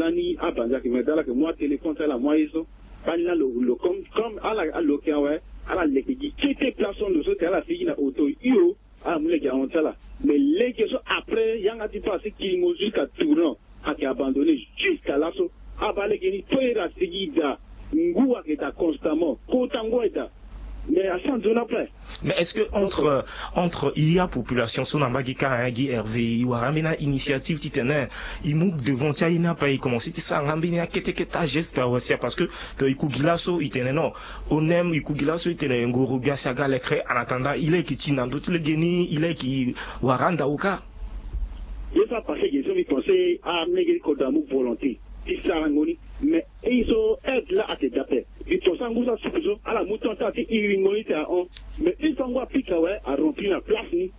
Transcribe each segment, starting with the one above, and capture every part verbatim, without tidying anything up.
Ani abanza ke me dala ke mwa téléphone ti ala mwa ye so. Bani la lo lo comme comme ala aloke awe. Ala leke gi kete place so ndo so te ala sigi na auto hio. Ala mu leke ahon ti ala. Mais leke so après yanga ti passe kilingo jusqu'à tournant. Ake abandonné jusqu'à laso. Aba leke ni toyera sigi da. Ngu ake da constamment kota ngu eda. Mais asan nzoni après. Mais est-ce que entre euh, entre il y a population so na mbage ka hein, gi hervé i wara ambeni initiative titene i mu devant ti aye ni ape i commencé ti sara nga ambeni akete kete ageste awasia parce que to i ku gi laso i tene non. Onem i ku gi laso i tene ngoro gbia si aga lekre en attendant i leke ti na ndö ti legeni i leke wara ndao ka. Ye so apassé ge so mbi pensé amege ti kodro amu volonté ti sarango ni. Mais e so aide la ake dape. Mbi pensé angu so asuku so ala mu temps ti ala ti iringo ni te ahon. Mais une fois ngu apika awe arempli na place ni.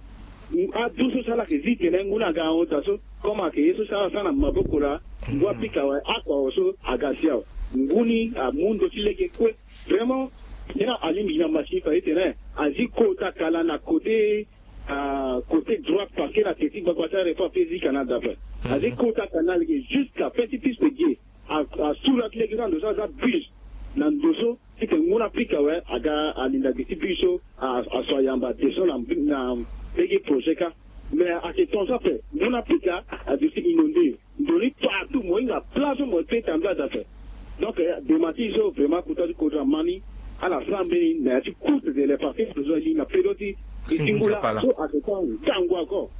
Adu so si ala yeke zi tene ngu ni aga ahon daa so. Comme ayeke ye so si ala sara na maboko laa. Ngu apika awe akua awe so aga si awe. Ngu ni amu ndo ti lege kue. Vraiment. Nyen na alingbi gi na machine fade tene azi kota kala na kote côté droite parce que na teti gbagba ti arepo ape zi canal d'après. Azi kota canal ge jusqu'à fin ti piste ge. Asura ti lege so na ndo so aza bus na ndo so. Tite ngu na pika awe aga alinda gi ti bus so. Aso ayamba descend na lege projet ka. Mais ake ton so ape ngu na pika adu si inondé. Ndoni partout mo hinga place so mo pe tambula dape. Donc dema ti so vraiment kota ti kodro ama ni. Ala sara mbeni na ya ti courte de les parties besoin li na pedo ti e ti ngu la so ake tan ntangu encore.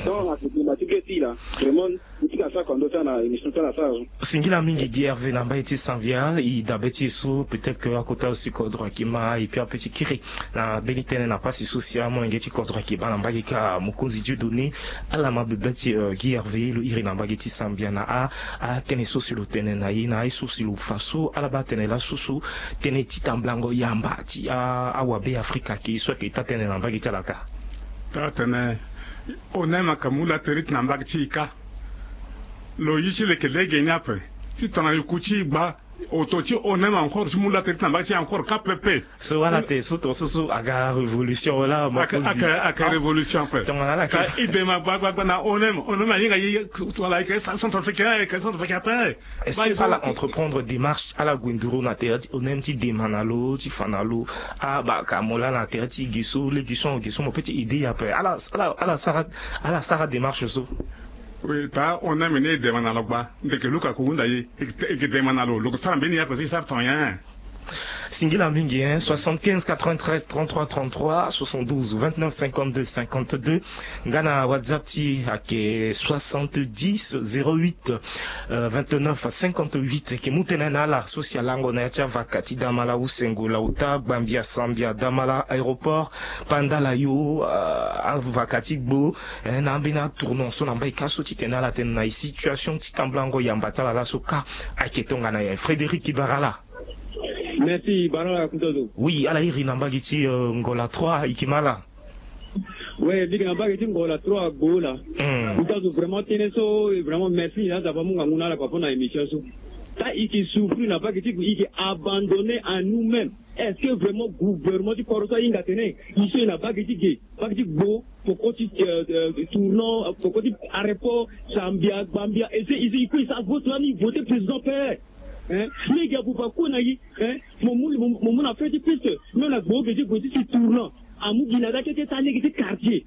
Donc ake dema ti be ti la vraiment. Mo ti ka sara kua ndo ti ala na émission ti ala sara so. Singila mingi gi hervé na mbai ti sanvia i dabe ti e so peut-être que akota si kodro aki ma et puis ape ti kiri na mbeni tënë na pasi so si amolenge ti kodro aki baa na mbage ka mokonzi dieu donné. Ala ma bebe ti gi hervé lo iri na mbage ti sambia na a atënë so si lo tene na ye na aye so si lo fa so ala baa tënë laso so. Tënë ti tamblango yamba ti awabe afrika ke ye so ayeke taa tënë na mbage ti ala ka. Taa tene onem ayeke mu laterite na mbage ti e ka. Lo ye ti leke lege ni ape ti tana yuku ti e gba. Oto ti onem encore ti mu laterite na mbage ti e encore ka pepe. So wala te so to so so aga révolution wala ma kozi. Aka révolution ape tongana ala ka idema gbagbagba na onem onem ahinga ye. Wala ayeke centrafricain ayeke centrafricain ape. Est-ce que ala entreprendre démarche ala gue nduru na tere ti onem ti dema na lo ti fa na lo? Abaka mo laa na tere ti gi so legi so gi so mo pe ti aide ye ape ala ala ala sara ala sara démarche so. Oui taa onem ni e dema na lo gba ndeke luka ko hunda ye. E ke dema na lo lo ke sara mbeni ye ape so e sara ton nyen? Singila mingi hein. Soixante-quinze quatre-vingt-treize trente-trois trente-trois, soixante-douze vingt-neuf cinquante-deux cinquante-deux. Nga na whatsapp ti e ayeke soixante-dix zéro huit vingt-neuf cinquante-huit. Ayeke mu tënë na ala so si alango na ya ti avaka ti damala usengo lauta gbambia sambia damala aéroport. Pandala yo avaka ti gbo. Na ambeni atournant so na mbai ka so titene ala tene na e situation ti tambulango yamba ti ala laso ka. Ayeke tongana nyen frédéric ibara ala? Merci baro ya kuntozo. Oui ala iri na mbage ti ngola trois iki ma ala. Ouais bigi na mbage ti ngola trois gbo la. Kuntozo vraiment tënë so vraiment merci na aza pa mu ngangu na ala pa po na émission so. Ta iki souffrir na mbage ti gbo iki abandonner à nous même. Est-ce que vraiment gouvernement ti koro so ahinga tene? Iso e na mbage ti ge mbage ti gbo poko ti tournant poko ti arepo sambia gbambia ese iso ikue isa vote lani vote président pe. Hein? Lege abuba kue na yi. Hein? Mo mu mo mu na feu ti piste même na gbo oge ti gbo ti si tournant. Amu gi na da kete ta lege ti quartier.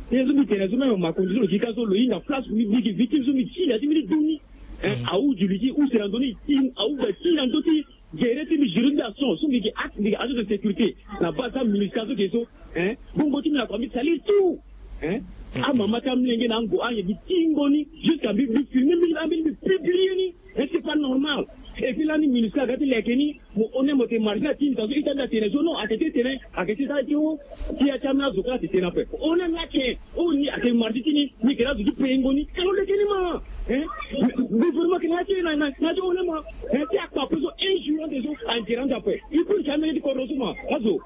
Ye so mbi tene so même makonzi so lo gi ka so lo hinga place mbi gi victime so mbi ti na ti mbi ti duni. Hein? Awu juli ti use na ndoni ti awu ga ti na ndö ti gere ti mbi juri mbi ason so mbi gi acte mbi gi agent de sécurité. Na base ti amunisika so ke so. Hein? Bongo ti mbi na kua mbi salir tout. Hein? Amama ti amlenge na ango ange mbi tingo ni. Jusqu'à mbi mbi filme mbi ambeni mbi publie ni. Hein, c'est pas normal. Et puis lani minusca aga ti leke ni. Mo honnête mo te marché na ti mbi ta so ita mbi atene so non ake ti tene ake ti sara ti o. Ti ya ti ameni azo kala ti tene ape honnête ni ake. O ni ake marché ti ni. Ni yeke na azo ti pengo ni ka lo leke ni ma. Hein? Gouvernement yeke na ya ti na ya ti honnête ma. Hein, ti akpa ape so injurante so angérante ape. Il faut ni ti ameni ti kodro so ma azo.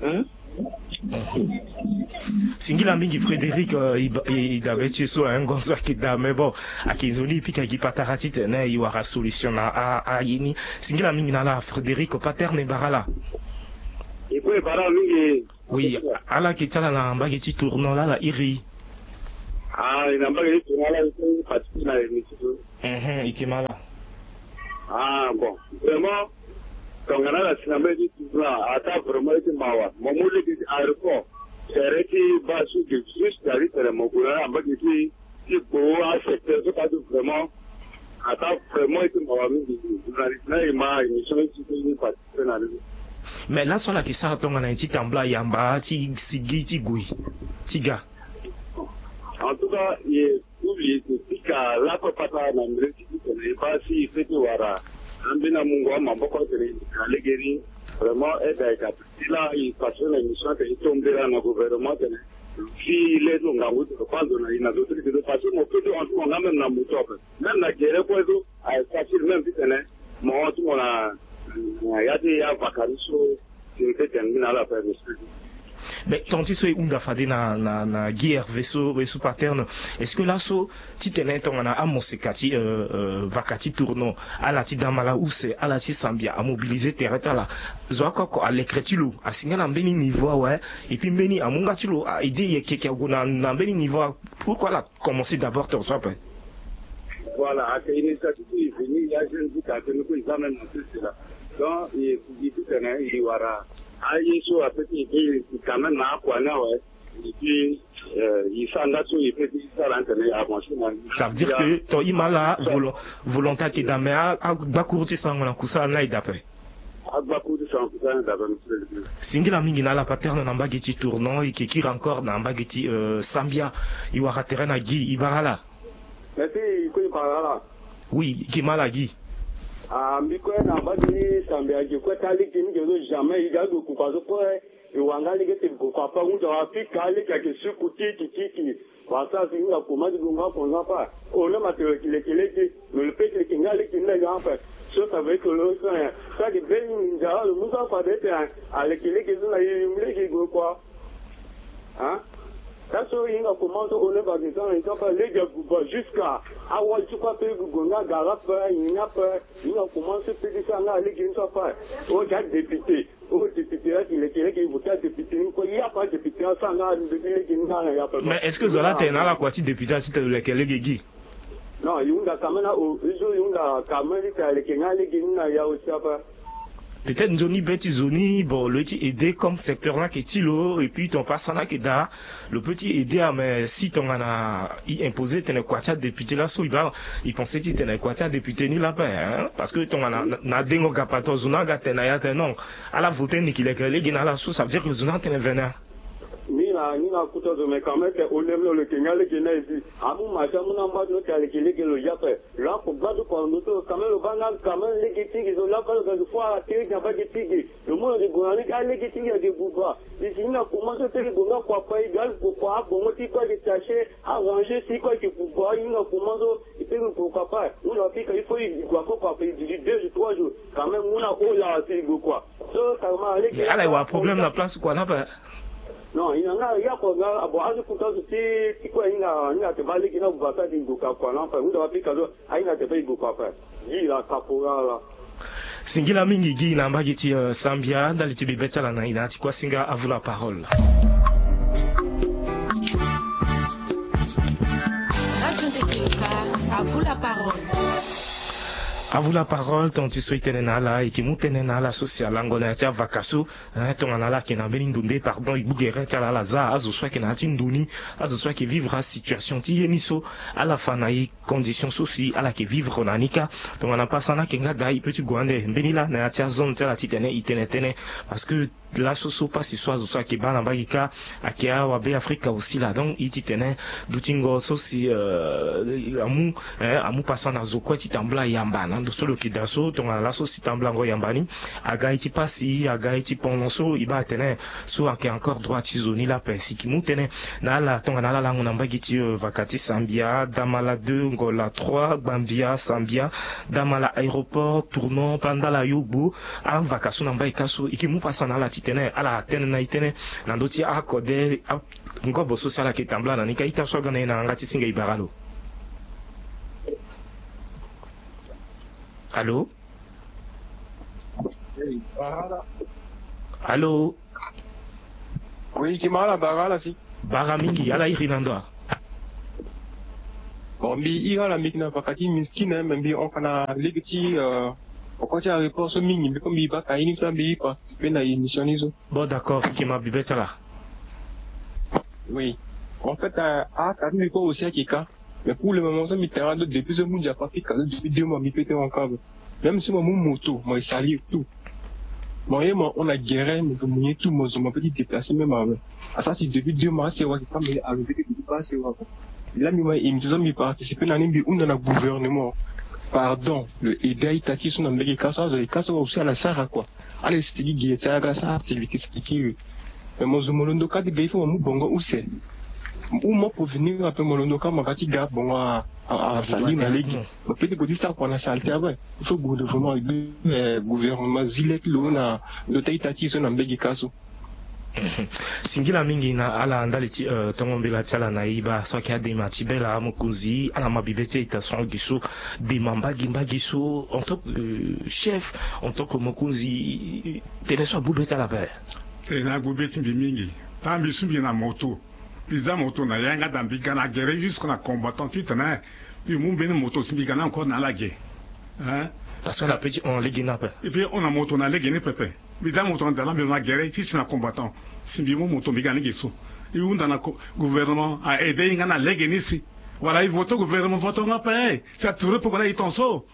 Hein? Singila mingi frédéric. I dabe ti so hein ngonzo ayeke daa mais bon. Ayeke nzoni e pika gi patara titene e wara solution na aye ni. Singila mingi na ala frédéric paterne bara ala. E kue bara mingi. Oui. Ala yeke ti ala na mbage ti tournant laa ala iri. Ah e na mbage ti tournant laa e kue e participe na émission so. Mhm e ke ma ala. Vraiment, tongana ala si na mbage ti tournant, ataa vraiment ye ti mawa. Mo mu lege ti aéroport, tere ti baa so ge juste, ari tene mo gue na ala na mbage ti ti gbo asecteur so kâ ti vraiment, ataa vraiment ye ti mawa mingi. Journaliste na e ma émission ye ti ti participer na ni. Mais laso ala yeke sara tongana nyen ti tambula yamba ti sigi ti gue ti ga? En tout cas, e, Public e pika lakue patara na mbele ti titene e baa si e peut ti wara ambeni amungo amaboko atene e yeka lege ni. Vraiment, aide ayeke ti laa e participer na émission atene e to mbela na gouvernement atene e fi le ti lo ngangu ti lo fâ nzoni na e na zo ti lege so, parce que mo peut ti hon ti mo nga même na moto ape, même na gere kue so aye facile même titene mo hon ti mo na, na ya ti avaka ni so. Mais ton ti so e hunda fade na, na, na Guy Hervé so, so paterne. Est-ce que laso titene tongana amoseka ti, euh, euh, vaka ti tournant, ala ti damala use, ala ti sambia amobiliser tere ti ala, zo oko oko alekere ti lo asinga na mbeni niveau awe, et puis mbeni amu nga ti lo a aider yeke yeke ague na, na mbeni niveau awe. Pourquoi ala commencer d'abord tere so ape? Voilà, ayeke initiative ti e venu ya jeune ti quartier ni kue, e za même na sese laa. Donc e, e ti tene e wara aye so ape ti e be quand même na akua ni awe. Et puis, euh, e sara nga so e peut ti sara ni tene e avancer na. Ça veut dire que ton ima ala volo-, volonté ayeke daa, mais a, agbakuru ti sarango na kusala ni aye daa ape. Agbakuru ti sarango na kusala ni aye daa ape. Singila mingi na ala paterne na mbage ti tournant, e yeke kiri encore na mbage ti, euh, sambia. E wara tere na Guy, e bara ala. Merci, e kue e bara ala. Oui, e yeke ma ala Guy. Ah, mbi kue na mbage ti sambia, e yeke kue ti alege ni ge so, jamais e ga ague kukua so kue. E wara nga lege ti gue kua ape, ahunda wa pika alege ayeke suku tiki tiki. Wala sara si e hinga koma ti gue nga kua nga ape. Ono ma tene lo yeke leke lege, me lo peut ti leke nga lege ni na ya ape. So ça veut dire que lo so, eh, so ayeke be ni nzara lo mu so afade tene aleke lege so na e, e mu lege e gue kua. Hein? Laso e hinga koma so, ono ma tene so na e so ape lege abuba jusqu'à awali ti kue ape e gue nga gara ape, nyen ni ape. E hinga koma so e peut ti sara nga lege ni so ape. O yeke adéputé. O député la ti leke lege, e voté adéputé ni kue, ya kue adéputé asara nga lege ni nga na ya kue. Mais est-ce que zo la tene na ala kua ti député la ti tene lo leke lege gi? Non, e hunda quand même na o, e zo e hunda quand même ti tene aleke nga lege ni na ya aussi ape. Peut-être nzoni be ti zo ni, bon, lo ye ti aider comme secteur ni ayeke ti lo, et puis ton pasa ni ayeke daa. Lo peut ti aider, ah, mais si tongana e imposer tene kua ti adéputé laso, e baa, e pensé ti tene kua ti adéputé ni la ape, hein? Parce que tongana na, na dengo ga patron, zo ni aga tene na ya tene non, ala voté ni ki leke lege na ala so, ça veut dire que zo ni atene vene. Ni na, ni na kota zo, mais quand même tene o lem lo leke nga lege na e si. Amu ma ti amu na mba ti lo tene aleke lege lo ya ape. Lo ako gbadu kua na ndo ti lo, quand même lo baa nga quand même lege ti ge, zo la baa lo ga zo fo ala te lege na mbage ti ge. Lo mu lo yeke gue na ni ka lege ti ge ayeke buba. E si e hinga koma so e peut ti gue nga kua ape, e ga lo gue kua, abongo ti e kue ayeke taché, arrangé si e kue ayeke buba, e hinga koma so e peut ti gue kua ape. Hunda wa pika il faut e gue ako kua ape, e duti deux jours, trois jours. Quand même mu na o lawa si e gue kua. So carrément alege. Mais ala e wara problème na place kua ni ape. Non, e hinga nga ya kua nga, ah bon, azo kota zo ti, ti kue e hinga, e hinga tene baa lege ni abuba so ayeke gue ka kua ni ape. Hunda wa pika so. Ahinga tene baa e gue kua ape. Gi la caporal la. Singila mingi gi na mbage ti, euh, sambia, ndali ti bebe ti ala na e na ya ti kuasinga. À vous la parole. Radio Ndeke Luka, à vous la parole. À vous la parole, ton ti so e tene na ala, e yeke mu tënë na ala so si alango na ya ti avaka so, eh, tongana ala yeke na mbeni ndo nde, pardon, e gbu gere ti ala, ala za azo so ayeke na ya ti ndo ni, azo so ayeke vivre asituation ti ye ni so, ala fa na e condition so si ala yeke vivre na ni kâ. Tongana pasa ni ayeke nga daa, e peut ti gue ande mbeni laa na ya ti azone ti ala titene e tene tënë. Parce que laso so pasi so azo so ayeke baa na mbage kâ, ayeke awabe Afrika aussi laa. Donc e ti tene dutingo so si, euh, amu, eh, amu pasa na zo kue ti tambula yamba na ndo so lo yeke daa so. Tongana laso si tambulango yamba ni aga e ti pasi, aga e ti pono so e baa atene so ayeke encore droit ti zo ni la ape. Si e yeke mu tënë na ala tongana ala lango na mbage ti, euh, vaka ti sambia, damala deux, ngola trois, gbambia, sambia, damala aéroport, tournant, pandala yogbo, ala vaka so na mbage kâ so, e yeke mu pasa na ala titene ala tene na e tënë na ndö ti akode, a, ngobo so si ala yeke tambula na ni kâ. Ita so aga na e na yanga ti singa, e bara lo. Allô? Allô? Oui, e yeke ma ala bara ala si. Bara mingi, ala iri na ndo wa? Bon, mbi iri ala, mbi yeke na vaka ti miskine, me mbi hon ka na lege ti, euh, Oko ti areport so mingi mbi kue mbi baka ye ni so ambi ye pa pe na émission ni so. Bon, d'accord, eke ma bibe ti ala. Oui. En fait, a kati mbi kue aussi ayeke ka. Mais pour le moment so mbi tara ndo depuis so mbi ndia pa fika ndo depuis deux mois mbi pe te encore. Même si mo mu moto mo e salir tout. Mo ye mo hon na gere mo pe mu ye tout mo zo mo pe ti déplacer même awe. Asara si depuis deux mois asewa ayeke ka mo ye arrivé te depuis baa asewa ko. Laa mbi ma émission so mbi participer na ni mbi hunda na gouvernement. Pardon, lo aide a-ita ti so na mbege ka so azo ayeke ka so aussi ala sara kua. Ala e sigi ge ti aga asara activité sigi kiri. Mais mo zo mo londo ka ti ga il faut mo mu bongo use. Ou mo peut venir ape mo londo ka mo ga ti ga bongo a a a sali na lege. Mo peut ti gue ti sara kua na saleté ape. Il faut gouvernement gouvernement zi le ti lo na ndo ti a-ita ti e so na mbege ka so. Singila mingi na ala ndali ti tongo mbela ti ala na e baa so ayeke adema ti bela amokonzi ala ma bibe ti a-ita so gi so dema mbage mbage so en tant que chef, en tant que mokonzi, tene so agbu be ti ala ape. Tene agbu be ti mbi mingi. Taa mbi so mbi na moto. Mbi za moto na yanga daa mbi ga na gere jusque na combattant titene mbi mu mbeni moto si mbi ga ni encore na ala ge. Hein? Parce que ala peut ti hon lege ni ape. Mbi peut hon na moto na lege ni pepe. Mbi za moto na daa laa mbi lo na gere ti si na combattant si mbi mu moto mbi ga ni ge so. E hunda na gouvernement a aide e nga na lege ni si. Wala e vote gouvernement vote nga ape. Si a trouve pourquoi na e ton so.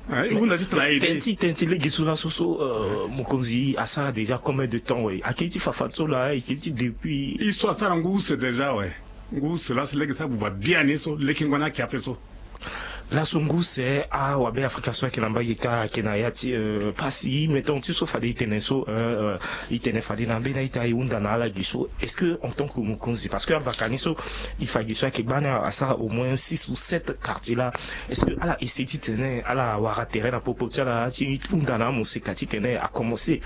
Hunda ti tena aide. Tënë ti tënë ti lege so laso so mokonzi asara déjà combien de temps we? Akiri ti fafa so laa e kiri ti depuis. E so asara ngu use déjà we. Ngu use laso lege so abuba biani so lekengo ni ayeke ape so. Laso ngu use awabe afrika so ayeke na mbage ka ayeke na ya ti pasi mais tonga ti so fade e tene so e tene fade na mbeni a-ita e hunda na ala gi so est-ce que en tant que mokonzi parce que avaka ni so e fa gi so ayeke gbani asara au moins six ou sept quartier laa. Est-ce que ala essayer titene ala wara tere na popo ti ala ti hunda na amoseka titene akomense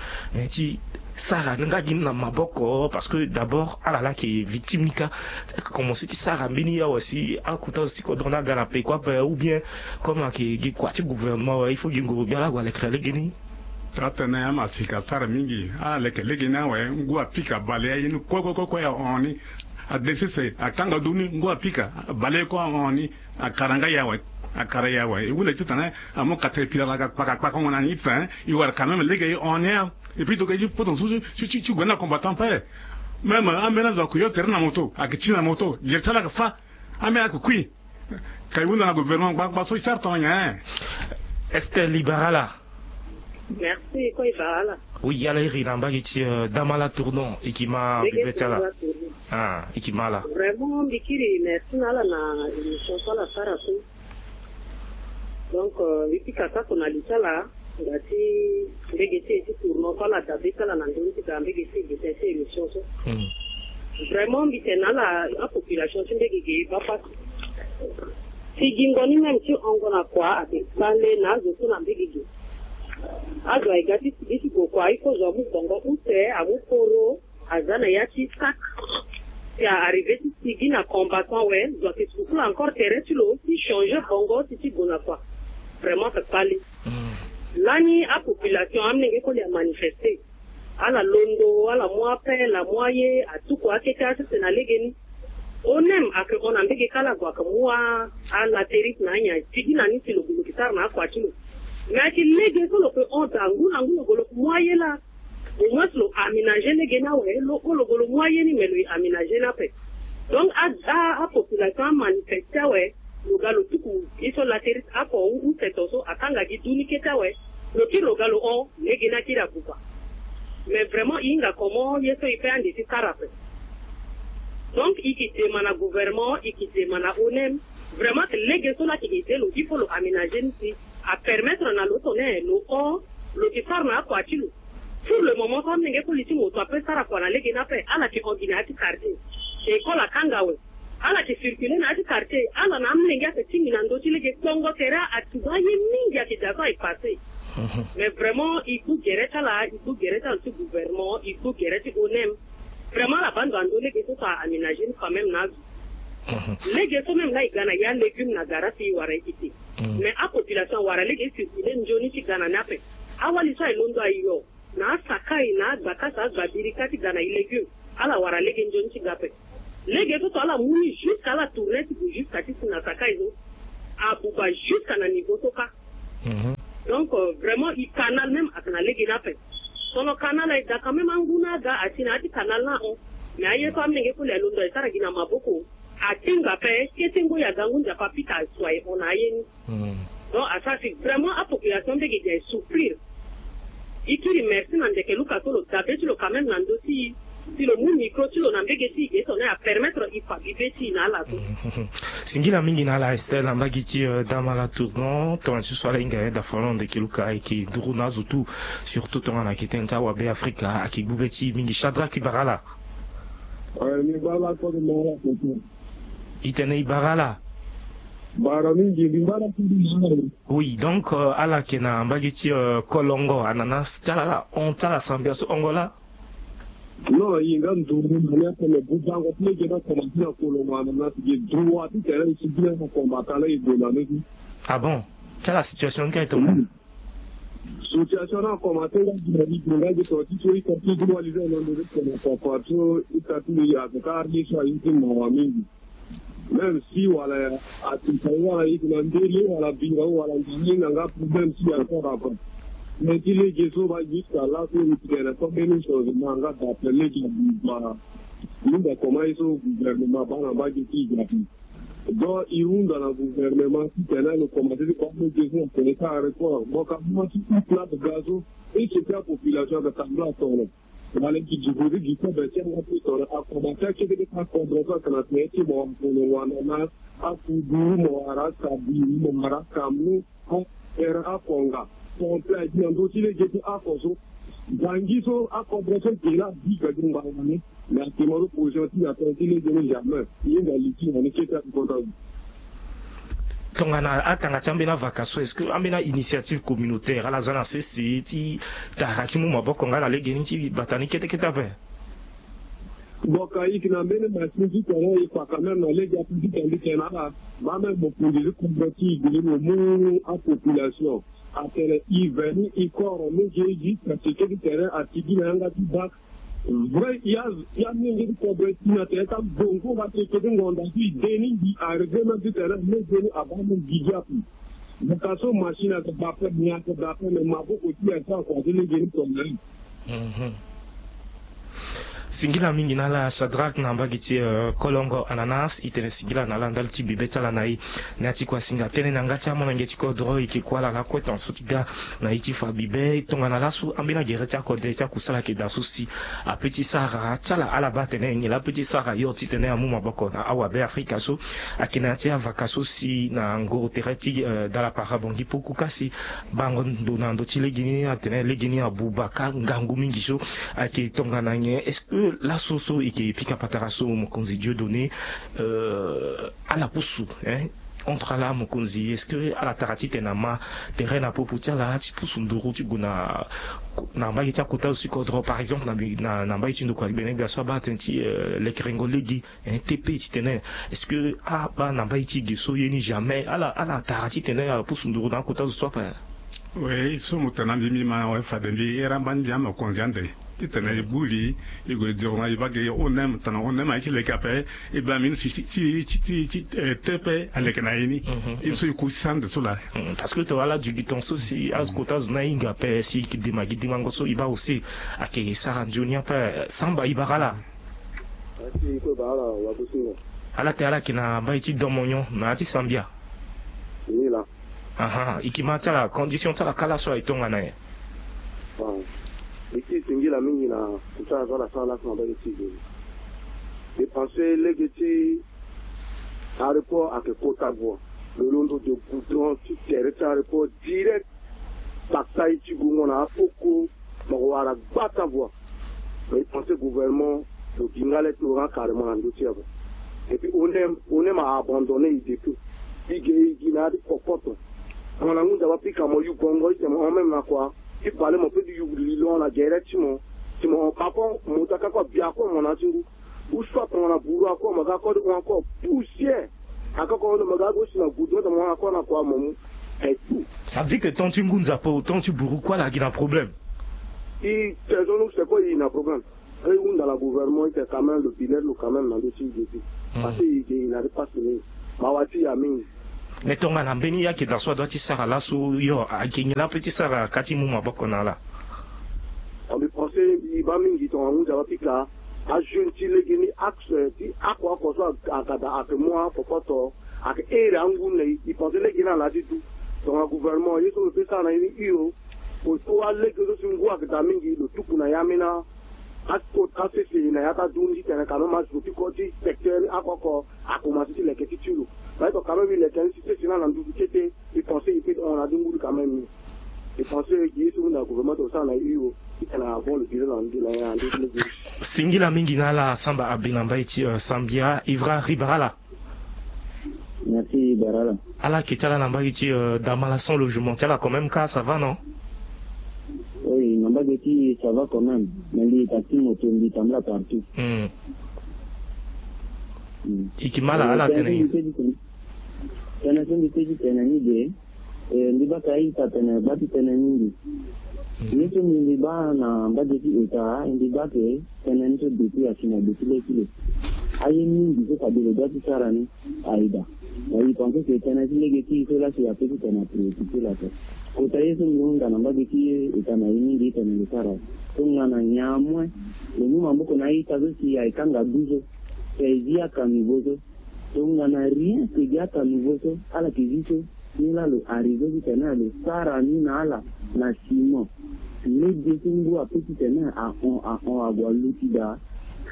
ti sara nga gi ni na maboko parce que d'abord ala laa ayeke victime ni kâ. Akomense ti sara mbeni awa si akota si kodro ni aga na peko ape ou bien comme ayeke gi kua ti gouvernement awe il faut gi nguru gbia laa ague alekere lege ni. Taa tënë amaseka asara mingi ala leke lege ni awe ngu apika abale aye ni kue kue kue kue ahon ni. Adesese akanga du ni ngu apika abale ye kue ahon ni. Akara nga ye awe. Akara ye awe e hunda titene amu katerepila na ga kpaka kpaka ngo na ni titene e wara quand même lege e hon ni. Et puis donc e ti poto mosusu ti gue ni na combattant ape. Même ambeni azo ayeke yo tere na moto ayeke ti na moto gere ti ala ayeke fâ. Ambeni ayeke kui. Ka e hunda na gouvernement ngbangba so e sara tonga nyen? Esther Libarala. Merci ko e bara ala. Oui, ala iri na mbage ti Damala Tournon e ki ma bibe ti ala. Ah, e ki ma ala. Vraiment mbi kiri merci na ala na émission so ala sara so. Donc mbi pika sako na li ti ala nga ti mbege ti e ti Tournon so ala dabe ti ala na ndoni ti ga mbege ti e gi tënë ti émission so. Vraiment mbi tene na ala apopulation ti mbege ge e baa pasi. Sigingo ni même ti hongo na kua ayeke kpale na azo so na mbege ge. Azo aye ga ti sigi ti gue kua il faut zo amu gbongo use amu poro aza na ya ti sac. Si a arrivé ti sigi na combattant awe zo ayeke sukula encore tere ti lo ti changer gbongo ti ti gue na kua. Vraiment ayeke kpale. Lani apopulation amolenge koli amanifester. Ala londo ala mu apel amu aye atuku akete asese na legeni. Onem ayeke hon na mbege kâ ala gue ayeke mu alaterit na anyen sigi na ni si lo gue lo yeke sara na akua ti lo. Mais ayeke lege so lo yeke hon daa ngu na ngu lo gue lo yeke mu aye laa. Au moins lo aménager legeni awe lo hon lo gue lo mu aye ni mais lo ye aménager ni ape. Donc apopulation amanifester awe. Lo ga lo tuku ye so laterit oko use to so akanga gi du ni kete awe. Lo kiri lo ga lo hon legeni akiri abuba. Mais vraiment e hinga comment ye so e pe ande ti sara ape. Donc e ke dema na gouvernement e ke dema na onem. Vraiment lege so laa ayeke aide lo il faut lo aménager ni si apermettre na lo tone lo hon lo ke sara na akua ti lo. Pour le moment so amolenge koli ti mo so ape sara kua na lege ni ape ala ke hon gi na ya ti quartier. École akanga awe. Ala ke circuler na ya ti quartier ala na amolenge ayeke tingbi na ndö ti lege kpongo tere atuba aye mingi ayeke da so ayeke passer. Mais vraiment e gbu gere ti ala e gbu gere ti ala ti gouvernement e gbu gere ti onem. Vraiment ala baa ndo na ndö lege so so a aménager ni quand même na azo. Lege so même laa e ga na ya légume na gara si e wara e kete. Mais apopulation awara lege e circuler nzoni ti ga na ni ape. Awali so aye londo ayo na asakai na agbakasa agbabirika ti ga na e légume. Ala wara lege nzoni ti ga ape. Lege so so ala mu ni jusque ala tourner ti gue jusque ti si na sakai so. Abuba jusque na niveau so kâ. Donc Vraiment, e canal même ayeke na lege ni ape. Tongana canal aye daa quand même angu ni aga asi na ya ti canal ni ahon. Mais aye so amenge koli alondo aye sara gi na maboko. Atinga ape kete ngoi aga ngu nzapa apika asu aye hon na aye ni. Donc asara si vraiment apopulation mbege gi aye souffrir. E kiri merci na ndeke luka so lo dabe ti lo quand même na ndö ti e. Si lo mu micro ti lo na mbege ti e ge so na e apermettre e fa bibe ti e na ala so. Singila mingi na ala Estelle na mbage ti dama la tournon tongana ti so ala hinga yeda folo ndeke luka ayeke nduru na azo tout. Surtout tongana ayeke tene ti awabe afrika ayeke gbu be ti e mingi chadrak e bara ala. Ni bara ala kode na ala kode. E tene e bara ala. Bara mingi ni bara kode na ala. Oui donc ala yeke na mbage ti kolongo ananas ti ala ala hon ti ala sambia so hongo laa. Non, e nga nduru na ni ape me budango ti lege ni akomanse na kolongo ananas gi droit ti tene e sigi na e na kombata la e gue na ni ti. Ah bon? Ti ala situation ni ka e tongana. Situation ni akomanse nga gi na ni gi nga gi to ti so e ka ti gi walize na ndo ti tene papa so e ka ti e avocat ye so aye ti mawa mingi. Même si wala atinta wala e yeke na ndele wala bira wala ndani na nga problème ti encore avant. Mais ti lege so ba jusqu'à là so e tene so mbeni changement nga d'après lege abuba. Minda comment ye so gouvernement baa na mbage ti e ga ape. Donc e hunda na gouvernement titene lo komanse ti baa lege so na tene ti aéroport. Mo ka baa ti e plate ga so e seke apopulation aga tambula atongana. Wala gi gi vodi gi kobe ti anga ti tongana akomanse akete ti akondre so ayeke na tene ti mo akolongo ananas, akudu, mo wara akabiri, mo wara akamnu, ere akonga. Pompe agi na ndö ti lege ti ako so. Zangi so akondre so ge laa abi ga gi ngbanga ni. Mais actuellement lo position ti na tene ti lege ni jamais. Ye nga li ti na ni kete akota. Tongana atanga ti ambeni avaka so est-ce que ambeni ainitiative communautaire ala za na sese ti tara ti mu maboko nga na lege ni ti bata ni kete kete ape? Boka e yeke na mbeni machine ti tene e fa quand même na lege ape ti tene ti tene ala baa même mokonzi ti kodro ti e gele mo mu apopulation atene e veni e koro lege e gi kasi kete ti tene atigi na yanga ti bak. Vrai ya ya mingi ti kobe ti na tene ti abongo nga ti eke ti ngonda ti de ni mbi arrivé même ti tene lege ni abaa ni gigi ape. Boka so machine ake dape ni ake dape me maboko ti ya so akua ti lege ni tongana ni. Singila mingi na ala Shadrack na mbage ti kolongo ananas e tene singila na ala ndali ti bibe ti ala na e. Na ya ti kua singa tënë na nga ti amolenge ti kodro e yeke kue ala lakue tongaso ti ga na e ti fa bibe tongana laso ambeni agere ti akode ti akusala ayeke daa so si ape ti sara ti ala ala baa atene nyen laa ape ti sara yo titene amu maboko na awabe afrika so. Ayeke na ya ti avaka so si na ngoro tere ti dala para bongi puku kasi bango ndo na ndö ti legeni atene legeni abuba ka ngangu mingi so. Ayeke tongana nyen est-ce que laso so e yeke pika patara so mokonzi Dieudonné ala pusu entre ala mokonzi est-ce que ala tara titene ama tere na popo ti ala ti pusu nduru ti gue na na mbage ti akota zo ti kodro par exemple na na mbage ti ndokua ti bene gbia so abaa atene ti lekerengo lege. Tepe titene est-ce que abaa na mbage ti ge so ye ni jamais ala ala tara titene apusu nduru na akota zo so ape? Oui so mo tene na mbi mbi ma fade mbi era mbani mbi amokonzi ande titene e gbu li e gue diro na e bage onem tana onem aye ti leke ape. E baa mbi ni si ti ti ti ti tepe aleke na e ni. E so e ku ti sande so laa. Parce que to ala dugi ton so si akota zo ni ahinga ape si e dema gi demango so e baa aussi ayeke sara nzoni ape. Samba e bara ala. Ala te ala yeke na mbai ti domonyon na ya ti sambia. Ni laa. Aha e yeke ma ti ala condition ti ala kala so aye tongana nyen? Bon e ti singila mingi na kota ala so ala sara laso na mbai ti geni. E pense lege ti aéroport ayeke kota voie. Lo londo de goudron ti tere ti aéroport direct. Kpaksa ye ti gongo na apoko. Mo wara gbata voie. Mais e pense gouvernement lo gi nga le ti lo nga carrément na ndö ti ape. Et puis onem onem a abandonné e depuis. E ge e gi na ya ti kokoto. Mo na ngu nzapa pika mo yu gongo ite mo hon même na kua. Ti pale mo pe ti yu lilon na gere ti mo. Ti mo hon papa mo ta ka kua bia kue mo na ti ngu. Ou soit tongana bourreau ako mo ga ako ti hon ako poussière. Ako ako hon mo ga ako si na goudron ti mo hon ako na kua mo mu. Et tout. Ça veut dire que tant ti ngu nzapa ou tant ti bourreau kue ala gi na problème. E tene so ni use kue e na problème. E hunda na gouvernement e tene quand même lo bilet lo quand même na ndö ti e ge ti. Parce que e ge e na ti passe mingi. Mawa ti e amingi. Mais tongana mbeni ya ke da so adua ti sara laso yo ake nyen la pe ti sara ka ti mu maboko na ala? Mbi pense mbi baa mingi tongana ngu nzapa pika ajeune ti lege ni axe ti ako ako so aka da ake mu akokoto ake ere angu na e. Mbi pense lege ni ala ti du tongana gouvernement ye so lo pe sara na ye ni hio. Ko so alege so si ngu ake da mingi lo tuku na ya mina. Asport asese na ya ka du ni ti tene quand même azo ti ko ti secteur ni ako ako akomanse ti leke ti ti lo. Parce que quand même mbi leke ni si sese ni ala nduzu kete. Mbi pense mbi pe hon na du nguru quand même. Mbi pense gi ye so mbi na gouvernement to sara na hio ti tene avant le bilan na ndu na ya ndu ti lege. Singila mingi na ala samba abi na mbai ti sambia ivra ribarala. Merci barala. Ala ke ti ala na mbage ti damala sans logement ti ala quand même ka ça va non? Oui na mbage ti ça va quand même. Mais mbi ta ti moto mbi tambula partout. Hmm. Hmm. Iki mala ala tene. Tene so mbi pe ti tene ni de. Mbi baa ka ita tene baa ti tene mingi. Ye so mbi mbi baa na mbage ti eta mbi baa ke tene ni so depuis asi na depuis le ti le. Aye mingi so fade lo dua ti sara ni. Aida. Na i pense ke tënë ti lege ti i so lasi ape ti tene apréoccupé la ape. Kota ye so mbi hunda na mbage ti eta na i mingi i tene lo sara. Tongana nyamoin lo mu maboko na i ta so si aye kanga du so. Te zi aka nouveau so. Tongana rien ke gi aka nouveau so ala ke zi so. Ni la lo arrivé ti tene lo sara ni na ala na simon. Lege so ngu ape ti tene ahon ahon ague aluti daa.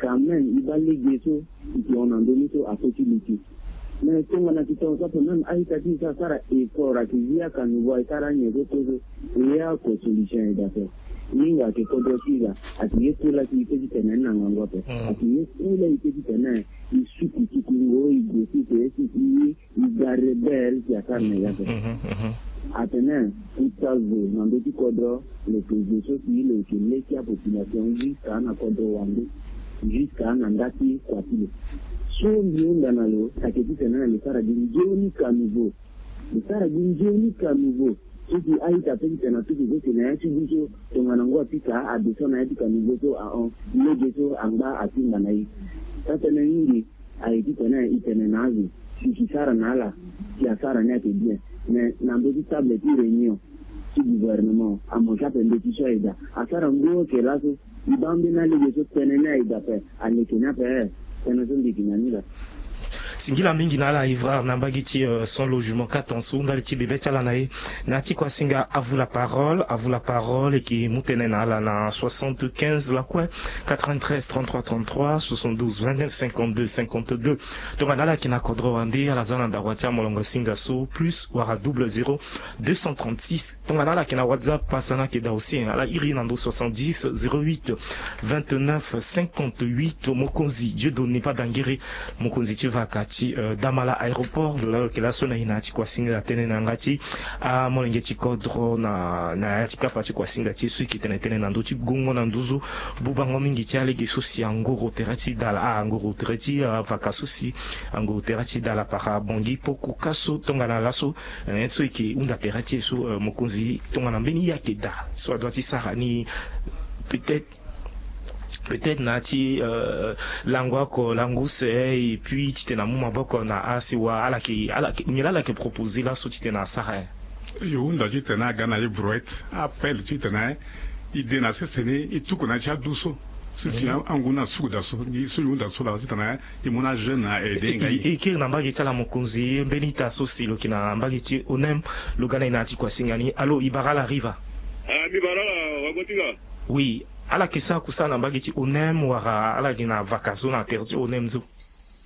Quand même i baa lege so i ke hon na ndö ni so ape ti luti. Mais tongana ti tonga so ape même a-ita ti i so asara effort ayeke zi aka nouveau aye sara anyen so kozo. Ye oko solution aye daa ape. Hinga ayeke kodro ti i daa. Ayeke ye kue la ti i pe ti tene ni na ngangu ape. Ayeke ye kue la i pe ti tene i suku suku ngo i gue ti tene si i i ga rebelle si asara na ya so. Atene kuta zo na ndö ti kodro. Lo yeke zo so si lo yeke le ti apopulation jusqu'à na kodro wande. Jusqu'à na nda ti kua ti lo. So mbi hunda na lo ayeke ti tene na lo sara gi nzoni ka nouveau. Lo sara gi nzoni ka nouveau. So si a-ita pe ti tene na tuku so si na ya ti du so tongana ngu apika adeso na ya ti ka nouveau so ahon. Lege so angba atimba na ye. Sa tënë mingi. Aye ti tene i tene na azo si ki sara na ala. Si asara ni ayeke bien. Mais na ndö ti table ti réunion ti gouvernement amosi ape mbeti so aye daa asara ngu oke laso. I baa mbeni alege so tënë ni aye daa ape. Aleke ni ape. Tënë so mbi yeke na ni daa. Singila mingi na ala ivrare na mbage ti sans logement quatre ans so ndali ti bebe ti ala na ye. Na ya ti kua singa avu la parole avu la parole eke mu tënë na ala na soixante-quinze lakue quatre-vingt-treize trente-trois trente-trois soixante-douze vingt-neuf cinquante-deux cinquante-deux. Tongana ala yeke na kodro wande ala za na ndakua ti amolongo singa so plus wala double zéro deux cent trente-six. Tongana ala yeke na whatsapp pasa ni ayeke daa aussi ala iri na ndo soixante-dix zéro huit vingt-neuf cinquante-huit. Mokonzi dieudonne pas dangere. Mokonzi ti vaka ti damala aéroport lo laa lo yeke laso na e na ya ti kuasinga tënë na yanga ti amolenge ti kodro na ya ti kapa ti kuasinga ti e so e yeke tene tënë na ndö ti gongo na nduzu. Bubango mingi ti alege so si angoro tere ti dala angoro tere ti vaka so si angoro tere ti dala para bongi poku ka so tongana laso. So e yeke hunda tere ti e so mokonzi tongana mbeni ye ayeke daa so adua ti sara ni. Peut-être peut-être na ya ti lango oko lango use et puis titene amu maboko na asiwa ala yeke ala yeke nyen la ala yeke proposer laso titene asara. Yo hunda titene aga na ye brouette appel titene i de na sese ni i tuku na ya ti adu so. Sisi angu ni asuku daa so gi so yo hunda so laa titene i mu na ajeune na aide nga ye. E kiri na mbage ti ala mokonzi mbeni ita so si lo yeke na mbage ti onem. Lo ga na e na ya ti kuasinga ni alo i bara ala riva? Mbi bara ala wago ti nga. Oui. Ala yeke sara kusala na mbage ti onem wala ala yeke na vaka so na tere ti onem so?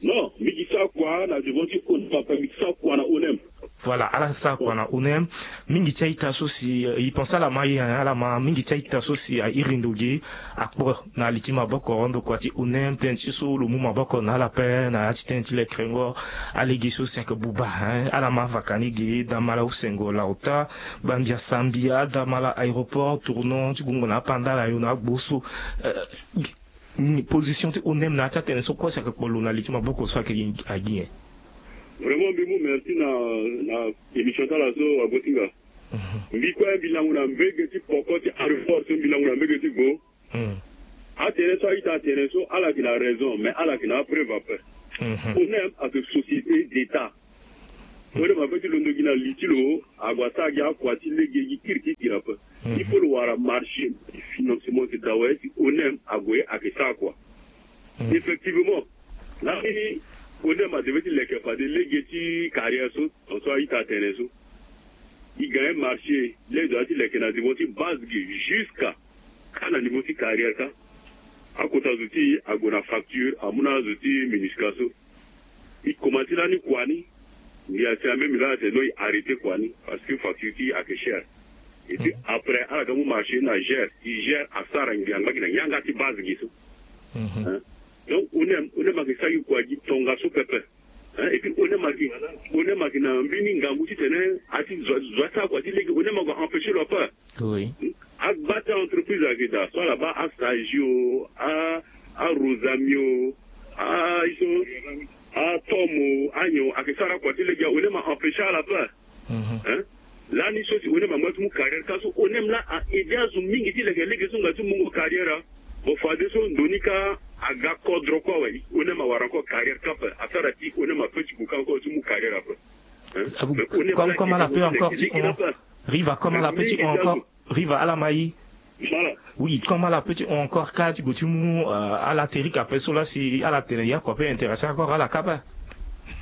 Non mbi yeke sara kua na devant ti onem ape mbi yeke sara kua na onem. Voilà ala sara kua na onem. Mingi ti a-ita so si i pense ala ma ye ala ma mingi ti a-ita so si a iri ndo ge akpo na li ti maboko ndokua ti onem tënë ti so lo mu maboko na ala ape na ya ti tënë ti lekrengo. Alege so si ayeke buba hein ala ma avaka ni ge damala usengo laota. Gbambia sambia damala aéroport tournant ti gungo na apandala yo na agbo so. Position ti onem na ya ti atene so kue si ayeke kpolo na li ti maboko so ayeke agi nyen? Vraiment mbi mu merci na na émission ti ala so ago ti nga. Mbi kue mbi lango na mbege ti poko ti aéroport so mbi lango na mbege ti vo. Atene so a-ita atene so ala yeke na raison mais ala yeke na apreuve ape. Onem ayeke société d'état. Onem ape ti londo gi na li ti lo, ague asara gi akua ti lege gi kiri ti kiri ape. Il faut lo wara marché financement ti dawa ye ti onem ague ayeke sara kua. Effectivement, lani onem adeve ti leke fade lege ti carrière so, tongaso a-ita atene so. E gagner marché, lege adoit ti leke na niveau ti base gi jusqu'à kâ na niveau ti carrière kâ. Akota zo ti e ague na facture, amu na azo ti MINUSCA so. E komanse lani kua ni, ngia si amemi laa atene non, e arrêter kua ni parce que facture ti e ayeke cher. Et puis après ala ga mu marché na gère, e gère asara ngia ngba gi na yanga ti base gi so. Hein? Donc onem, onem ayeke sara gi kua gi tongaso pepe. Hein? Et puis onem ayeke, onem ayeke na mbeni ngangu titene a ti zo, zo asara kua ti lege, onem ague empêcher lo ape. Oui. Agba ti a-entreprise ayeke daa, so ala baa Asagi o, a, a-Rosami o, a, iso, a-Tom o, anyen o, ayeke sara kua ti lege, onem a empêcher ala ape. Hein? Lani so si onem amu ti mu carrière kâ so, onem laa a aider azo mingi ti leke lege so nga ti mungo carrière. Bon, fadeso ndo ni kâ aga kodro kue awe, onem awara encore carrière kâ ape, asara ti onem ape ti gue kâ encore ti mu carrière ape. Hein? Ah bon, mais onem comme, laa comme ala peut encore ti leke hon, ape. Riva, comme ala peut ti hon encore. Riva, ala ma i. Voilà. Oui, comme ala peut ti hon encore kâ ti gue ti mu, euh, ala Terik ape so laa si ala tene ya kua peut intéresser encore ala kâ ape.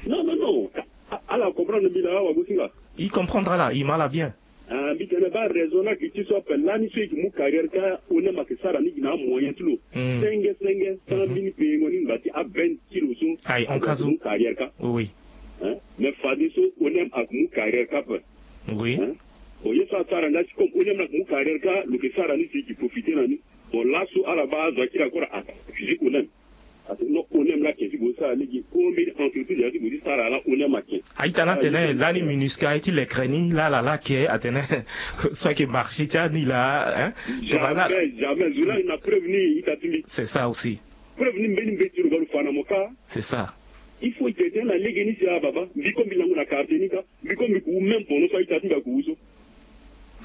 Non, non, non. A-, ala comprendre mbi laa, wagosinga. I comprendre ala, i ma ala bien. Ah, mbi tene baa raison na gi ti so ape lani so i yeke mu carrière kâ, onem ayeke sara ni gi na amoyen ti lo. Senge senge, sans mbeni pengo ni ngba ti a-vingt ti lo so. Aye, en cas où. Mu carrière kâ. Oui, oui. Hein? Mais fadeso onem ayeke mu carrière kâ ape. Oui. Hein? Bon, ye so asara nga ti comme onem laa ayeke mu carrière kâ, lo yeke sara ni si e yeke profiter na ni. Bon, laso ala baa azo akiri akora a accuser onem. Parce que non, onem laa ayeke ti gue ti sara lege, combien entreprise ayeke ti gue ti sara laa onem ayeke. A-ita ni atene lani MINUSCA aye ti lekere ni laa ala laa ayeke, atene so ayeke marché ti ani laa, hein? Tongana jamais, jamais. Zo laa na preuve ni, ita ti mbi. C'est ça aussi. Preuve ni mbeni mbeti lo ga lo fa na mo kâ. C'est ça. Il faut e tene tënë na lege ni si, ah baba, mbi kue mbi lango na quartier ni kâ. Mbi kue mbi ku wu même pendant so a-ita ti mbi aku wu so.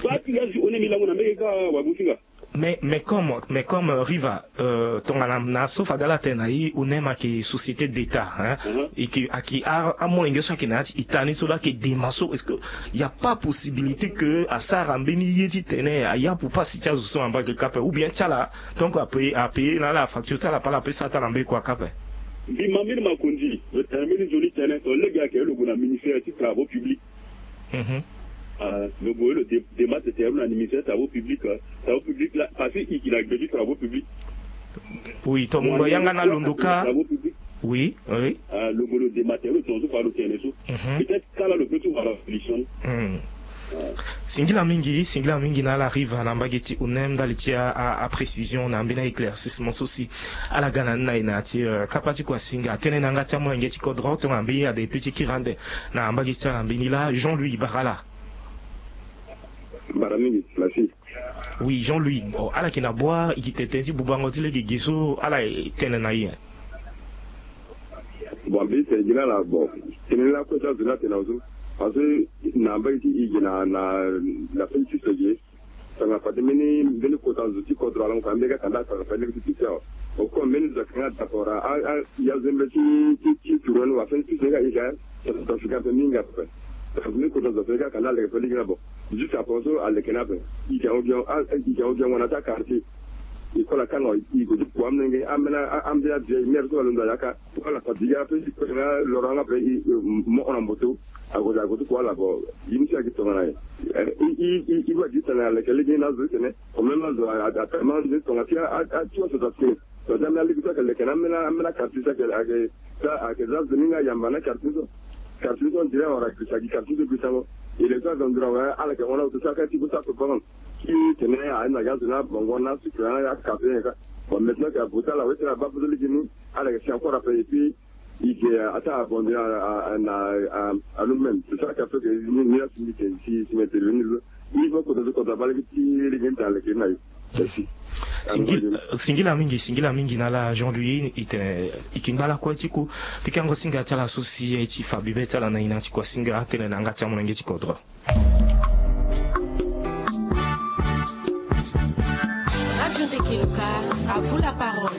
Baa ti ga si onem mbi lango na mbege kâ, wagosinga. Mais, mais comme, mais comme, euh, Riva, euh, tongana na so fade ala tene na i, onem ayeke société d'État, hein. Mhm. E yeke, ayeke a, amolenge so ayeke na ya ti ita ni so laa ayeke dema so, est-ce que il y a pas possibilité que asara mbeni ye titene ayapu pasi ti azo so na mbage kâ ape, ou bien ti ala, tant que apayer, apayer na ala facture ti ala ape, ala peut sara ti ala mbeni kua kâ ape? Mbi ma mbeni makonzi, lo tene mbeni nzoni tënë, ton lege ayeke lo gue na ministère ti travaux publics. Mhm. Ah, lo gue lo dé-, démarche ti lo na ministère travaux publics, euh, travaux publics laa, parce que e yeke na gbe ti travaux publics. Oui, tongaso yanga na londo kâ. Travaux publics. Oui, oui. Ah, lo gue lo démarche ti lo tongaso fa lo tene so. Mhm. Peut-être kâ laa lo peut ti wara solution. Hmm. Ah. Singila mingi, singila mingi na ala Riva na mbage ti onem ndali ti a, a, aprécision na mbeni a-éclaircissement so si ala ga na ni na e na ya ti, euh, kapa ti kuasinga. Tënë na yanga ti amolenge ti kodro tongana mbeni ade peut ti kiri ande na mbage ti ala mbeni laa, Jean-Louis Barala. Bara mingi, merci. Oui, Jean-Louis, bon, ala yeke na bua, e yeke tene tënë ti bubango ti lege ge so ala e tene na e. Bon, mbi tene gi na ala, bon, tënë ni lakue ti azo ni atene na zo. Parce que na mbage ti e ge na, na, na mbeni ti so ge, tongana fade mbeni, mbeni kota zo ti kodro ala mo fa mbeni ga kanda tongana fade lege ti pise awe. Au fond mbeni zo ayeke nga d'accord, a, a, ya zo mbeni ti, ti, ti turu ni wa fade ti pise ni ga e ga, tongana fade ga ape mingi ape. Tongana mbeni kota zo ape ga kanda lege fade lege ni ape. Juste après so aleke ni ape. E yeke ahon gi, a, e yeke ahon gi ahon na ti akartier. E kola kanga e gue ti kua amolenge, ambeni a, ambeni avieille mère so alondo ayaka. Wala fadiga ape, e kue na loro yanga ape, e, e, mo hon na moto. Ague, ague ti kua ala, bon, ye ni si ayeke tongana nyen? Eh, e, e, e, e, wa gi tene aleke lege ni na azo ti tene. Quand même azo a, a, atene ma nzoni tongana ti a, a, a, ti wa so ta ti. Tongana ti ambeni alege so ayeke leke na ambeni, ambeni akartier so ayeke, ayeke, ayeke za nzoni nga yamba na akartier so. Akartier so on dirait awara girisa gi akartier so girisango. E le so azo nduru awe, ala yeke hon na azo so aka ti gue ti ape bango. Ti tene aye na ga azo ni abongo na sucre na ya café nyen ka. Bon, maintenant que abuta la weti na baa poso lege ni, ala yeke si encore ape et puis e yeke ataa abonde na, na, na nous-mêmes. C'est ça qui a fait que ni, ni la si mbi yeke si, si mbi intervenir so. Ni faut kota so kota baa lege ti lege ni tene aleke ni na e. Merci. Singila, singila mingi, singila mingi na ala Jean-Louis, e tene e yeke ngba lakue ti ku pikango singa ti ala so si aye ti fa bibe ti ala na e na ya ti kuasinga, tënë na yanga ti amolenge ti kodro. Radio Ndekeluka, à vous la parole.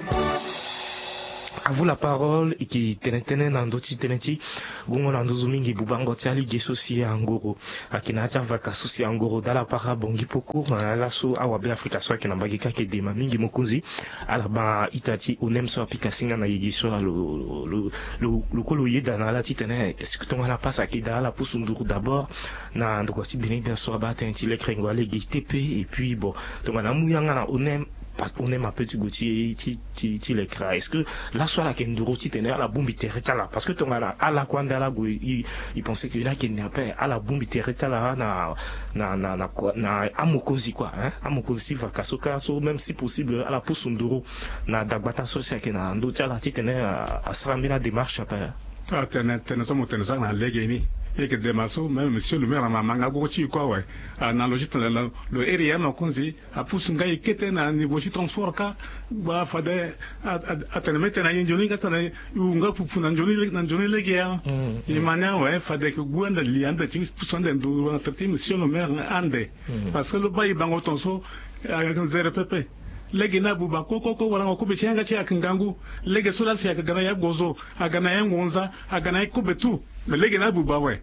À vous la parole. E yeke tene tënë na ndö ti tënë ti gongo na nduzu mingi bubango ti alege so si angoro ayeke na ya ti avaka so si angoro dala para bongi poko na ya laso awabe afrika so ayeke na mbage kâ ayeke dema mingi mokonzi. Ala baa ita ti onem so apika singa na yege so alo lo lo lo kue lo yeda na ala titene est-ce que tongana pasa ayeke daa ala pusu nduru d'abord na ndokua ti benin bian so abaa tënë ti lekrengo alege te pe et puis bon tongana amu yanga na onem. Parce que onem ape ti gue ti ti ti ti lekra est-ce que laso ala yeke nduru titene ala bongbi tere ti ala parce que tongana ala kue ande ala gue i i pense que ni ayeke ni ape ala bongbi tere ti ala na na na na kua na amokonzi kua hein amokonzi ti vaka so kâ so même si possible ala pusu nduru na dagbata so si ayeke na ndö ti ala titene asara mbeni adémarche ape. Atene tene so mo tene sara na lege ni e yeke dema so même monsieur le maire na ma ma nga gogo ti e kue awe. Analogie tene lo iri ya mokonzi apusu nga e kete na niveau ti transport kâ. Ba fade atene me tene na ye nzoni nga tene e wu nga pupu na nzoni lege ya. E ma ni awe fade e yeke gue ande li ande ti pusu ande nduru na tere ti monsieur le maire ande. Parce que lo baa e bango ton so ayeke nzere pepe. Lege ni abuba kokoko warango kobe ti yanga ti e ayeke ngangu. Lege so laa si ayeke ga na ya gozo aga na ya ngonza aga na ya kobe tout. Mais lege ni abuba awe.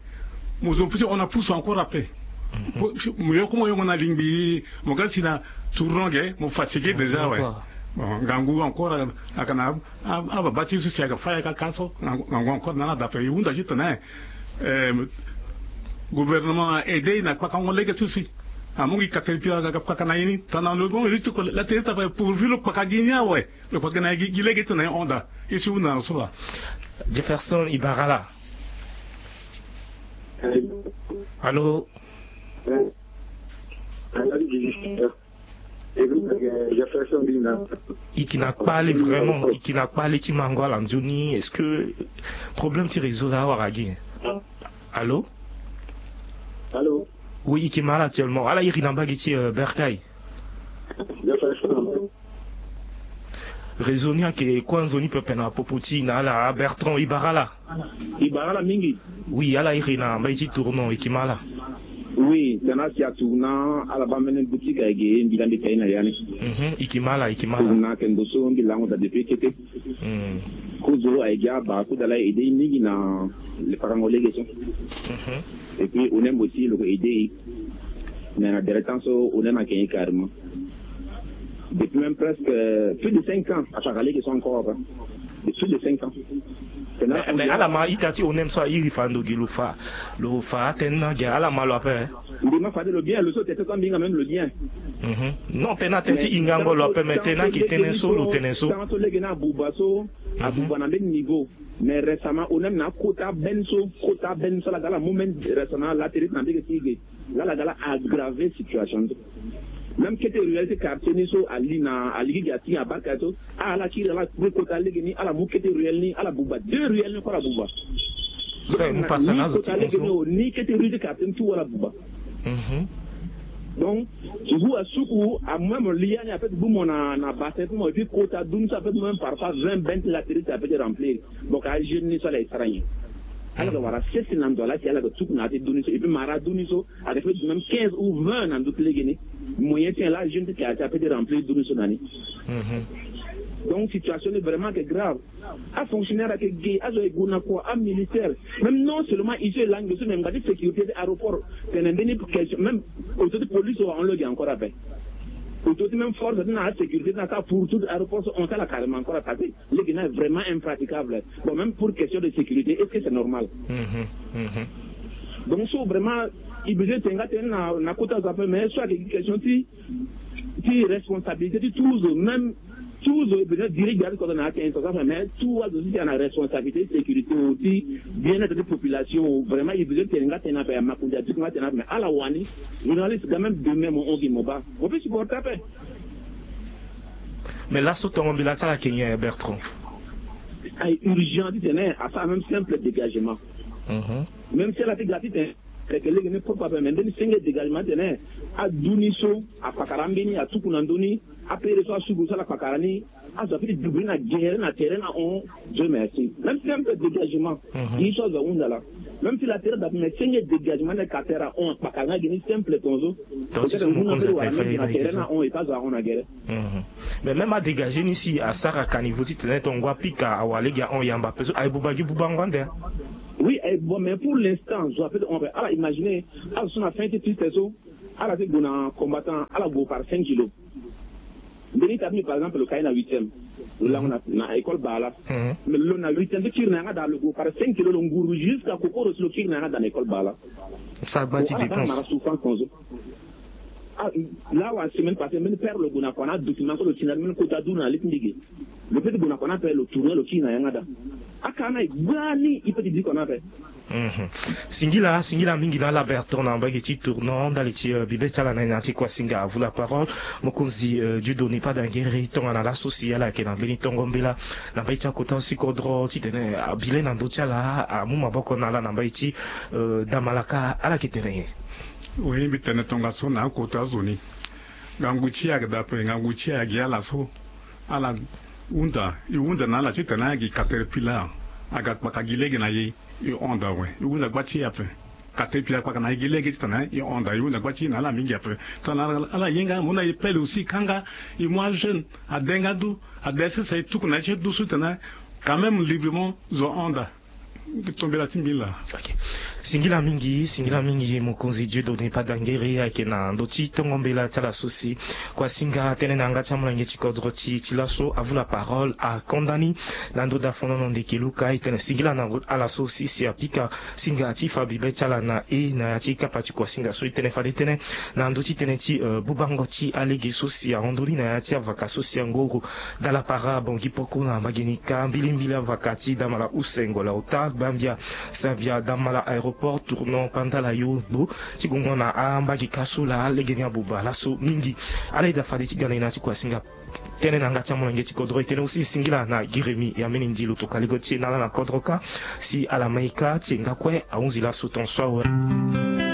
Mo zo piti hon na pusu encore ape. Mo yoko mo yongo na lingbi mo ga si na tournant ge mo fatigué déjà awe. Bon ngangu encore aga na ababa ti so si aga faya kaka so ngangu encore na ala dape e hunda ti tene gouvernement aide e na kpakango lege so si amu gi caterpillar aga kpaka na ye ni tana lo mo ye ti toko la tene ti ape pourvu lo kpaka gi ni awe. Lo kpaka gi na ye gi lege ti tene ye hon daa. Ye si hunda na lo so laa. Jefferson Ibarala. Allô. E yeke na kpale vraiment e yeke na kpale ti mango ala nzoni est-ce que problème ti réseau laa awara gi? Allô. Allô. Oui e yeke ma ala actuellement ala iri na mbage ti bercail. Réseau ni ayeke kue nzoni pepe na popo ti e na ala Bertrand Ibarala. Ibarala mingi. Oui ala iri na mbage ti tournant e yeke ma ala. Oui tena si atu na ala baa mbeni boutique ayeke mbi la mbi ta ye na ya ni. Mhm e yeke ma ala e yeke ma ala. Tournant ayeke ndo so mbi lango daa depuis kete. Kozo ayeke gi abaa kozo ala aide e mingi na le pakango lege so. Mhm. Et puis onem aussi lo ko aide e. Mais na dere temps so onem ayeke ye carrément. Depuis même presque plus de cinq ans asara lege so encore ape. Depuis plus de cinq ans. Mais ala ma ita ti onem so airi fando gi lo fa lo fa atene na gi ala ma lo ape. Mbi ma fade lo bien lo so tete so ambi nga même lo bien. Mhm. Non tena tënë ti hingango lo ape mais tena yeke tënë so lo tene so. Tant so lege ni abuba so abuba na mbeni niveau. Mais récemment onem na akota ben so kota ben so ala ga ala mu mbeni récemment la tene ti na mbege ti ge. Laa ala ga la aggraver situation so. Même kete ruelle ti quartier ni so ali na aligi gi atinga abarka so. Ala kiri ala kue kota lege ni ala mu kete ruelle ni ala buba deux ruelle ni kue ala buba. Ni kota lege ni o ni kete ruelle ti quartier ni tout ala buba. Donc ngu asuku amu même li ya ni ape ti gbu mo na bassin ti mo et puis kota duni so ape ti mo même parfois vingt ben ti latérite ape ti remplir. Donc ajeune ni so ala ye sara nyen? Ala ga wara sese na ndo ala si ala ga tuku na ya ti duni so et puis mara duni so. Ayeke fait même quinze ou vingt na ndö ti lege ni. Moyen ti nyen laa jeune ti quartier ape ti remplir duru so na ni? Donc situation ni vraiment ayeke grave. Afonctionnaire ayeke ge azo ayeke gue na kua amilitaire. Même non seulement ici e langue so me ngba ti sécurité ti aéroport tene mbeni question même auto ti police so ahon lo gi encore ape. Auto ti même force ti na asécurité ti na kâ pour tout aéroport so hon ti ala carrément encore attaqué. Lege ni vraiment impraticable. Bon même pour question de sécurité est-ce que c'est normal? Donc so vraiment e besoin ti tene nga tënë na kota azo ape mais so ayeke gi question ti ti responsabilité ti tout zo même tout zo e besoin dirige ati kota na ake instance ape mais tout azo so ti tene na responsabilité ti sécurité o ti bien-être ti population o vraiment e besoin ti tene nga tënë ape ya makonzi ati nga tënë ape mais ala wani journaliste quand même demain mo hon gi mo baa mo peut supporter ape. Mais laso tongo mbila ti ala ayeke nyen Bertrand? Aye urgent titene asara même simple dégagement. Même si ala ti ga titene ayeke lege ni propre ape mais mbeni senge dégagement titene adu ni so akpakara ambeni atuku na ndö ni. Apere so asuku so ala kpakara ni azo ape ti dubi ni na gere na tere na hon. Dieu merci même simple dégagement. Ye so azo ahunda laa. Même si la terre da mais senge dégagement na ka terre a on kpaka nga gini simple tonzo. Donc ti so mo konza ka fay na terre na on e pas a on na gere. Mais même a dégagé ni si asara ka niveau ti tene ton ngua pika awa lege a on yamba peso ay buba gi buba ngua nde. Oui, eh, bon, mais pour l'instant zo ape on ala imaginer ala so na fin ti triste so. Ala ti gue na combattant ala gue par cinq kilo. Mbeni ta ti mbi par exemple lo kai na huitième. Lo lango na école bala. Mais lo na huitième ti kiri na yanga da lo gue par cinq kilo lo nguru jusqu'à kokoro si lo kiri na yanga da na école bala. Sa gba ti dépense. Mara souffrance tonzo. Là wa semaine passée mbeni père lo gue na kua na document so lo ti na mbeni kota du na li ti ndege. Lo pe ti gue na kua na ape lo tourne lo kiri na yanga da. Aka na e gba ni e pe ti di kua na ape. Singila singila mingi na ala berton na mbage ti tournant ndali ti bibe ti ala na e na ya ti kuasinga avu la parole. Mokonzi dieudonne pas dangere tongana laso si ala yeke na mbeni tongo mbela na mbage ti akota si kodro titene abile na ndö ti ala amu maboko na ala na mbage ti damalaka ala yeke tene nyen? Oui mbi tene tongaso na akota azo ni. Ngangu ti e ayeke daa ape ngangu ti e ayeke gi ala so. Ala hunda e hunda na ala titene ayeke gi katerpillar. Aga kpaka gi lege na e. E hon daa awe e hunda gba ti e ape. Katerpillar kpaka na e gi lege titene e hon daa e hunda gba ti e na ala mingi ape. Tongana ala ye nga mo na e pele aussi kanga e mu ajeune ade nga du ade sese e tuku na ye ti e du so titene quand même librement zo hon daa. Tombela ti mbi laa. Singila mingi singila mingi mokonzi dieudonne pas dangere ayeke na ndö ti tongo mbela ti ala so si kuasinga tënë na yanga ti amolenge ti kodro ti ti laso avu la parole akonda ni. Na ndö da fonono ndeke luka e tene singila na ala so si si apika singa ti fa bibe ti ala na e na ya ti kapa ti kuasinga so e tene fade tënë na ndö ti tënë ti bubango ti alege so si ahon ndoni na ya ti avaka so si angoro. Dala para bongi poko na mbage ni ka mbilimbili avaka ti damala use ngola ota gbambia sambia damala aéroport tournant pandala yo gbo. Ti gongo na ambage ka so laa legeni abuba laso mingi. Ala eda fade ti gana e na ti kuasinga tënë na yanga ti amolenge ti kodro e tene aussi singila na giremi ya mini ndi lo toka lego ti e na ala na kodro ka si ala ma e ka ti e nga kue ahunzi laso ton so awe.